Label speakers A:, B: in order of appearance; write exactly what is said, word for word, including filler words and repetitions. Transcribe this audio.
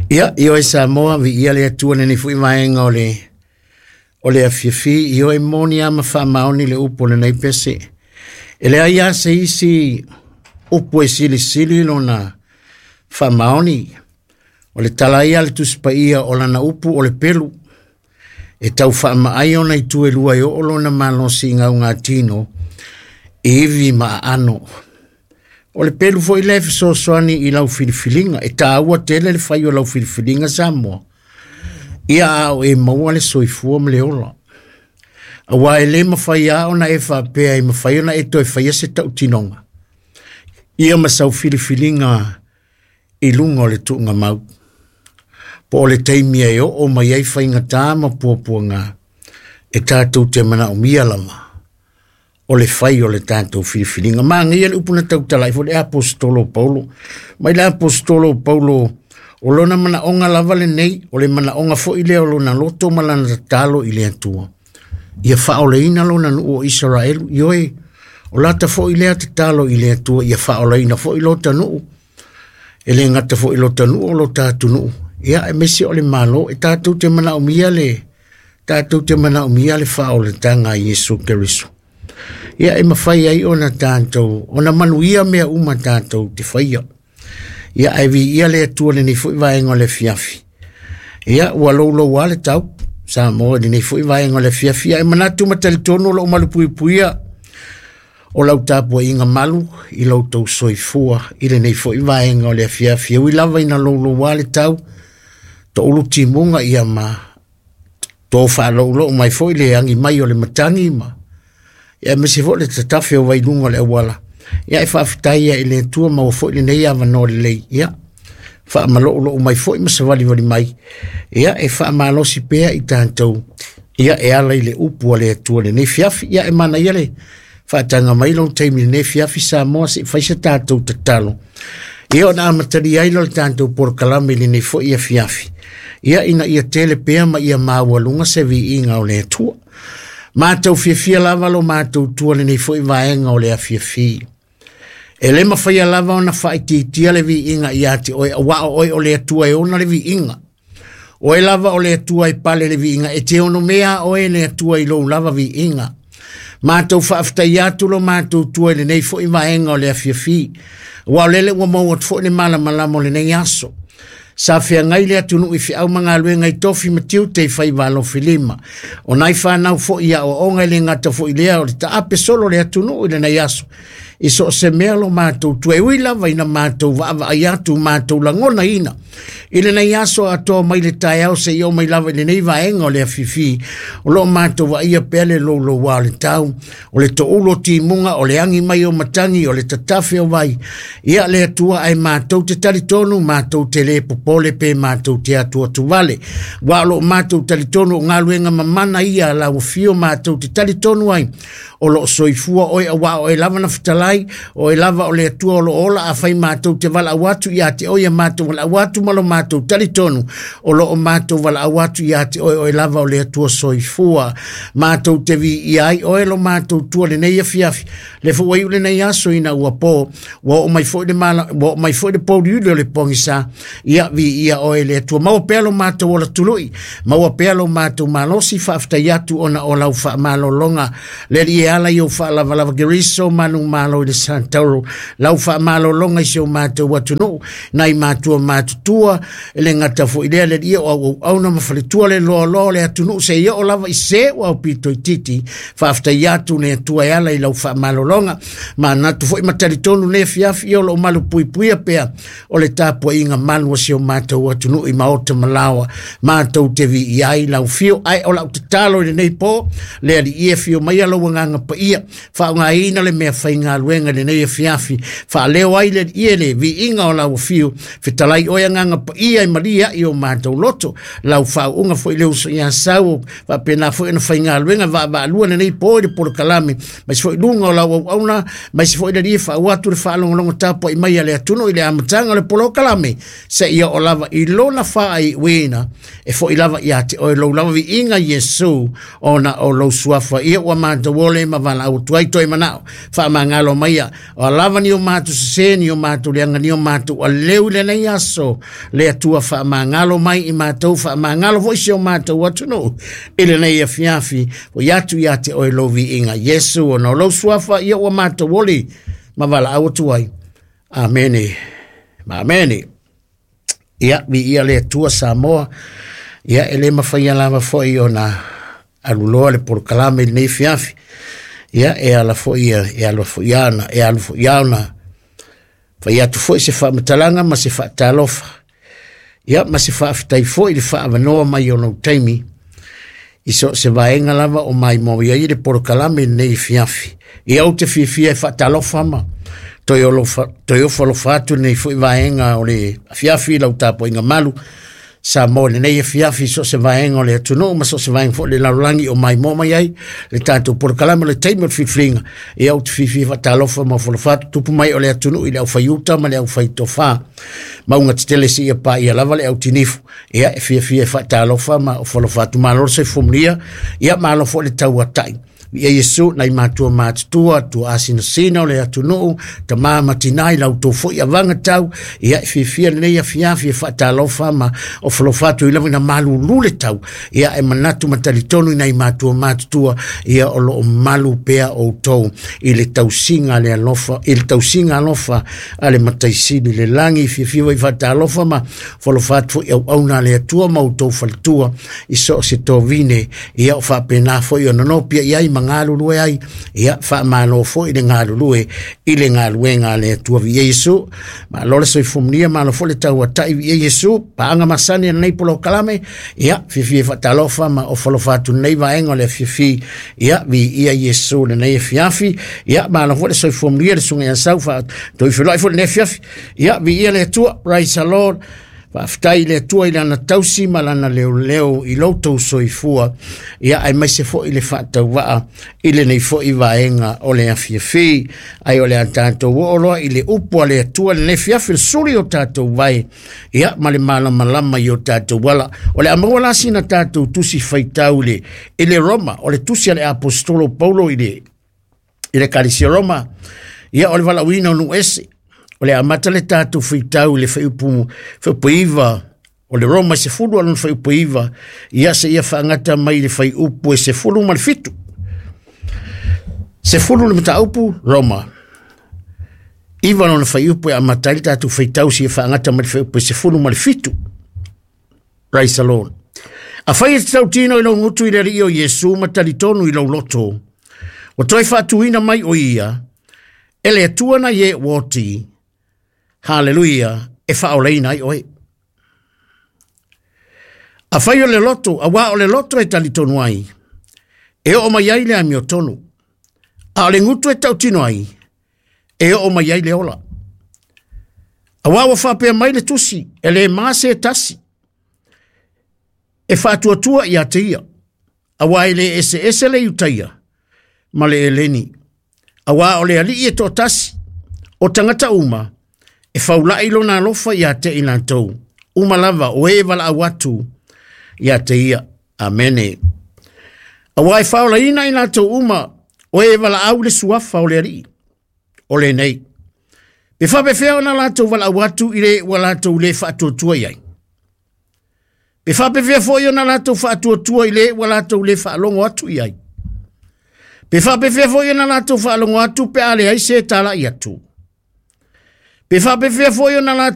A: Ia, ioe Samoa, viia le Atua i lenei foi vaega o le o le afiafi, ioe moni lava ma faamaoni le upu o lenei pese. E leai lava se isi upu e silisili lona faamaoni. O le tala ia a le Tusi Paia o lana upu o le pelu, e tau faamaai ona itu e lua e oo lona malosi i gaugatino, i ivi ma aano. O le pelu foi lea e fesoasoani i lau filifiliga, e taua tele le fai o lau filifiliga Samoa, ia a o e maua le soifua ma le ola. Aua e le mafai lava ona e faapea e mafai ona e toe faia se tautinoga, ia ma sau filifiliga i luga o le tuugamau. Po o le taimi e oo mai ai faigata ma puapuaga, e tatou te manaomia lava o le fai o le tatou filifiliga. Manaia le upu na tautala ai foi le aposetolo o Paulo. Mai le aposetolo o Paulo, o lona manaoga lava lenei, o le manaoga foi lea o lona loto ma lana tatalo i le Atua, ia faaolaina lona nuu o Isaraelu. Ioe, o lata foi lea tatalo i le Atua, ia faaolaina foi lota nuu, e le gata foi lota nuu o lota atunuu, ia aemaise o le Malo. E tatou te manaomia le tatou te manaomia le faaolataga a Iesu Keriso. Ia e mafai ai ona tatou ona manuia mea uma tatou te faia. Ia ae viia le Atua i lenei foi vaega o le afiafi. Ia ua louloua le tau Samoa i lenei foi vaega o le afiafi. Ia e manatu ma talitonu o loo malupuipuia o lau tapuaiga malu i lo outou soifua i lenei foi vaega o le afiafi. E ui lava ina louloua le tau, toulu timuga ia ma to faalouloua mai foi le agi mai o le matagi ma ia aemaise foi le tatafe o vailuga o le auala. Ia e faafetai ai i le Atua maua foi lenei avanoa lelei. Ia faamaloulou mai foi ma savalivali mai. Ia e faamalosi pea i tatou, ia e ala i le upu a le Atua i lenei afiafi. Ia e manaia le faataga mai lou taimi i lenei afiafi Samoa, se i fai se tatou tatalo. Ia ona amatalia ai lea o le tatou polokalame i lenei foi afiafi. Ia ina ia tele pea ma ia maualuga se viiga o le Atua. Matou fiafia lava lo matou tua lenei foi vaega o le afiafi. E le mafai lava ona faaitiitia le viiga ia te oe, aua o oe o le Atua e ona le viiga. Oe lava o le Atua e pale le viiga, e te ono mea oe le Atua i lou lava viiga. Matou faafetai atu lo matou tua i lenei foi vaega o le afiafi. Aua o lele ua maua atu foi le malamalama o lenei aso. Sa feagai le atunuu i feau ma galuega i tofi ma tiute i faiva alofilima. O nai whanau foi ia o onga i le ngata foi lea o le taape solo le atunuu i lenei aso. I so se mea lo matou tua e ui lava ina matou vaavaai atu matou lagonaina. I lenei aso atoa mai le taeao seia oo mai lava i lenei vaega o le afiafi. O lo matou vaaia pea le louloua o le tau, o le toulu o timuga, o le agi mai o matagi, o le tatafe o vai. Ia le Atua ae matou te talitonu, matou te le popole pe matou te atuatuvale. Ua o lo matou talitonu o galuega mamana ia lau afio matou te talitonu ai. O lo soifua oe aua oe lava na fetalai, oe lava o le Atua o lo ola afai matou te valaau atu ia te oe, ia matou valaau atu ma lo matou talitonu. O lo o matou valaau atu ia te oe, oe lava o le Atua soifua. Matou te viia ai oe lo matou tua lenei afiafi. Le foi ua iu lenei aso ina ua po, ua oo mai foi le mala, ua oo mai foi le pouliuli o le pogisa. Ia viia oe le Atua. Maua pea lo matou ola tului, maua pea lo matou malosi, faafetai atu ona o lau faamalologa. Le Alii e ala i ou faalavalava Keriso manumalo i le Santauro, lau faamalologa i si o matou atunuu, nai matua matutua, e le gata foi lea le Alii o auauauna ma faletua le loaloa o le atunuu seia oo lava i se ua aupito itiiti. Faafetai atu le Atua e ala i lau faamalologa. Manatu foi ma talitonu le afiafi ia o loo malupuipuia pea o le tapuaiga malu a si o matou atunuu i maota ma laoa. Matou te viia ai lau fio, ae o lau tatalo i lenei po, le Alii e fio maia lau agaga paia, faaaogaina le mea faigaluega i lenei afiafi, faaleo ai le Alii e le viiga o lau afio, fetalai oe agaga paia e malie ai o matou loto, lau faauuga foi le uso ia Sau, faapena foi ona faigaluega vaavaalua lenei po i le polokalame, mai se foi luga o lau auauna, mai se foi le Alii e faau atu le faalogologo tapuai mai a le atunuu i le amataga o le polokalame, seia oo lava i lona faaiuina, e foi lava ia te oe lou lava viiga Iesu, ona o lou suafa ia ua matou ole ma valaau atu ai toe manao. Faamagalo maia o lava ni o matou sese ni o matou leaga ni o matou aleu i lenei aso le Atua faamagalo mai i matou faamagalo foi si o matou atunuu i lenei afiafi o atu ia te oe lou viiga Iesu ona o lou suafa ia ua matou oli ma valaau atu ai. Amene ma amene. Ia viia le Atua Samoa. Ia e le mafai lava foi ona aluloa le polokalame i lenei afiafi. Ia e ala foi e alu foi ana e alu foi ana fai atu foi se faamatalaga ma se faatalofa. Ia ma se faafetai foi i le faaavanoa mai o lou taimi i so se vaega lava o maimoa ai le polokalame i lenei afiafi. Ia ou te fiafia e faatalofa ma toe olofa toe ofo atu lenei foi vaega o le afiafi lau tapuaiga malu Samoa i lenei afiafi so se vaega o le atunuu ma so se vaega foi le lalolagi o maimoa mai ai le tatou polokalame o le taimi o le filifiliga. Ia ou te fiafia faatalofa ma ofo atu tupu mai o le atunuu i le aufaiuta ma le aufaitofa mauga tetele seia paia lava le autinifu. Ia e fiafia e faatalofa ma ofo atu malo le soifua manuia. Ia malo foi le tauatai. Ia Iesu nai matua matutua tua asinasina o le atunuu tama ma tina i lau foi avaga tau. Ia e fiafia lenei afiafi e faatalofa ma ofo atu i lava ina malulu le tau. Ia e manatu ma talitonu i nai matua matutua ia o loo malu pea outou i le tausiga le alofa i le tausiga alofa a le mataisili le lagi. Fiafia i faatalofa ma ofo atu foi auauna le Atua ma outou faletua i so o se tovine. Ia o faapena foi ona nopia i ai ma galulue ai. Ia faamalo foi le galulue i le galuega a le Atua. Viia Iesu, malo le soifua manuia, malo foi le tauatai. Viia Iesu, paaga masani lenei polokalame. Ia fiafia faatalofa ma ofo atu lenei vaega o le afiafi. Ia viia Iesu lenei afiafi. Ia malo foi le soifua manuia le susuga ia Sau fa toe feloai foi lenei afiafi. Ia viia le Atua, praise the Lord. Faafetai i le Atua i lana tausi ma lana leoleo i lo outou soifua. Ia aemaise foi le faatauvaa i lenei foi vaega o le afiafi. Ai o le a tatou oo loa i le upu a le Atua lenei afiafi le suli o tatou vai. Ia ma le malamalama i o tatou ala. O le a maua la sina tatou tusi faitau i le, i le Roma, o le tusi a le apostolo Paulo i le, i le Ekalesia Roma. Ia o le valaauina o nuu ese. O le amata le tatou faitau i le fuaiupu fuaiupu iva o le Roma sefulu alona fuaiupu iva. Ia se ia faagata mai le fuaiupu e sefulu ma le fitu. Sefulu le mataupu Roma. Iva lona fuaiupu e amata ai le tatou faitau se ia faagata mai le fuaiupu e sefulu ma le fitu. Praise the Lord. Afai e te tautino i lou gutu i le Alii o Iesu ma talitonu i lou loto, ua toe faatuina mai o ia, e le Atua na ie ua oti, haleluia, e faaolaina ai oe. Afai o le loto, auā o le loto e talitonu ai, e oo mai ai le amiotonu, a o le gutu e tautino ai, e oo mai ai le ola. Auā ua faapea mai le tusi, e le ma se tasi, e faatuatua ia te ia, auā e le eseese le Iutaia ma le Eleni. Auā o le Alii e toatasi, o tagata uma, e faulai lona alofa ia te i latou, uma lava o e valaau atu ia te ia. Amene. Auā e faaolaina i latou uma, o e valaau le suafa o le Alii, o lenei. Pe faapefea ona latou valaau atu i le ua latou le faatuatua i ai. Pe faapefea foi ona latou faatuatua i le ua latou le faalogo atu i ai. Pe faapefea foi ona latou faalogo atu pe a leai se talai atu. Pe faapefea foi ona latou